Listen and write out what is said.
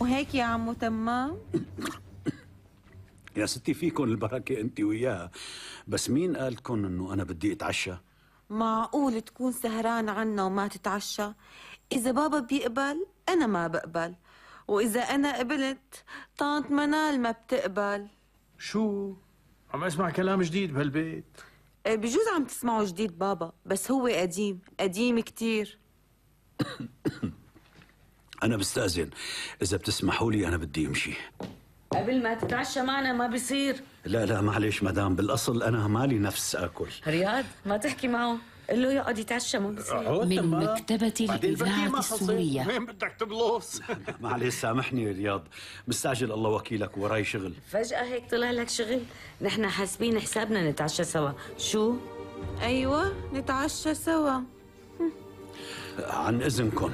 وهيك يا عمو تمام؟ يا ستي فيكن البركة انت وياها، بس مين قال لكم انه انا بدي اتعشى؟ معقول تكون سهران عنا وما تتعشى؟ إذا بابا بيقبل أنا ما بقبل، وإذا أنا قبلت طنط منال ما بتقبل. شو؟ عم اسمع كلام جديد بهالبيت. بجوز عم تسمعوا جديد بابا، بس هو قديم قديم كتير. انا بستأذن، اذا بتسمحوا لي انا بدي امشي. قبل ما تتعشى معنا ما بصير. لا معلش مدام، بالاصل انا مالي نفس اكل. رياض ما تحكي معه، قل له يقعد يتعشى ما بصير. من مكتبة الإذاعة السورية. وين بدك تبلص؟ معلش سامحني يا رياض، مستعجل الله وكيلك وراي شغل. فجأة هيك طلع لك شغل؟ نحن حاسبين حسابنا نتعشى سوا. شو؟ أيوة نتعشى سوا. عن اذنكم.